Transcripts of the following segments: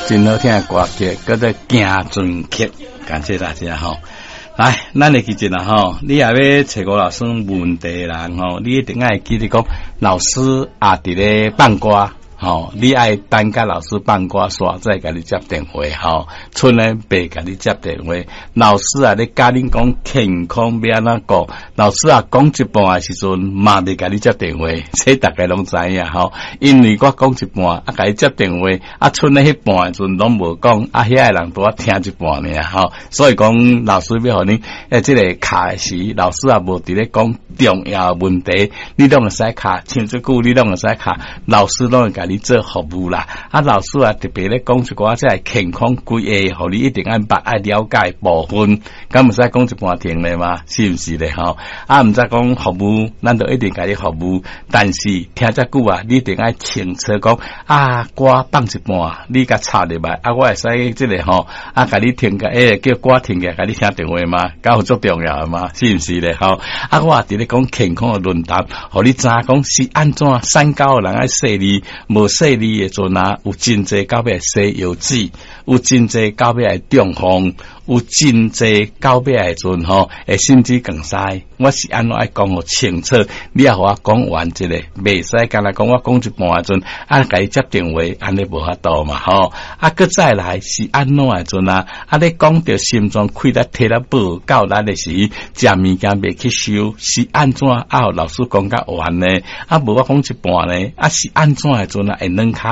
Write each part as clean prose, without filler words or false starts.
真好聽的歌曲，叫做《行船曲》，感謝大家吼。來，咱會記得啦吼，你若欲揣吳老師問題的人吼，你一定愛記得講，老師也佇咧放歌。吼，你愛等共老師放歌，煞再共你接電話吼，賰呢袂共你接電話。老師啊，咧教恁講健康欲按怎顧，老師啊講一半的時陣嘛袂共你接電話，這逐家攏知影吼。因為我講一半，啊，共你接電話，啊，賰咧彼半的時陣攏無講，啊，遐个人拄仔聽一半爾吼。所以講，老師欲予恁，這个敲的時，老師也無佇咧講重要問題，你攏會使敲，像這久你攏會使敲，老師攏會共你做服務啦。啊，老師啊特別咧講一寡這个健康規劃，予你一定愛捌愛了解部分，敢毋使講一半停咧嗎？是毋是咧吼？啊，毋知講服務，咱就一定共你服務，但是聽遮久啊，你一定愛清楚講啊，歌放一半，你共插入來，啊，我會使這个吼，啊，共你停個，叫歌停起來，共你聽電話嗎？敢有足重要的嗎？是毋是咧吼？啊，我也佇咧講健康的論壇，予你知影講是按怎三高的人愛細膩，無細膩的陣啊，有真濟到尾西藥水，有真濟到尾會中風，有真濟到尾的陣吼，會心肌梗塞。我是按怎愛講予清楚，你也予我講完一下，袂使干焦講我講一半的陣，啊，共伊接電話，按呢無法度嘛吼。啊，閣再來是按怎的陣啊？啊，你講著心臟氣力體力無夠力的時，食物件袂吸收，是按怎啊？予老師講較完呢？啊，無我講一半呢？啊，是按怎的陣啊？會軟跤，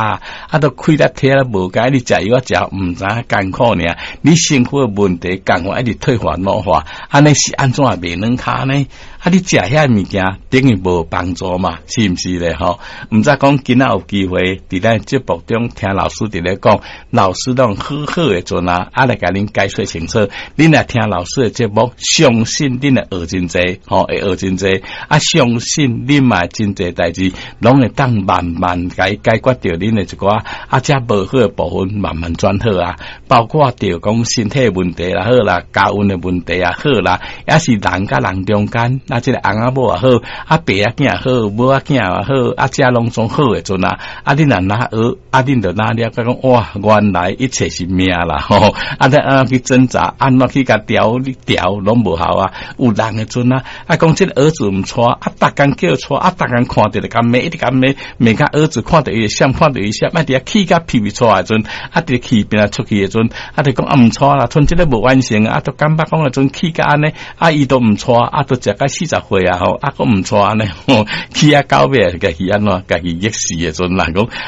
啊，都氣力體力無夠，你食藥仔食毋知影艱苦爾，你身軀的問題共款一直退化老化，按呢是按怎會袂軟跤呢？啊！你食遐物件等於無幫助嘛，是毋是咧？吼，毋知講今仔有機會佇咱節目中聽老師佇咧講，老師攏好好的陣啊，啊來共恁解說清楚。恁若聽老師的節目，相信恁會學真濟，吼，會學真濟。啊，相信恁嘛真濟代誌，攏會當慢慢共解決著恁的一寡啊，遮無好的部分，慢慢轉好啊。包括著講身體問題也好啦，家運的問題也好啦，抑是人佮人中間，啊，這个翁仔某也好，啊，爸仔囝也好，母仔囝也好，啊，遮攏總好的陣啊，啊，恁若哪學，啊，恁就哪了解講，哇，原來一切是命啦，吼，啊，你按怎去掙扎，按怎去共調調，攏無效啊。有人的陣啊，啊，講這个兒子毋娶，啊，逐工叫娶，啊，逐工看著就共罵，一直共罵，罵甲兒子看著伊會閃，看著伊閃，啊，佇遐氣甲屁屁出來的陣，啊，佇氣拚來出去的陣，啊，就講啊，毋娶啦，賰這个無完成，啊，都感覺講的陣氣甲按呢，啊，伊都毋娶，啊，都食甲40歲啊吼，啊，閣毋娶按呢，吼，氣啊到尾，家己按怎，家己激死的陣，人講。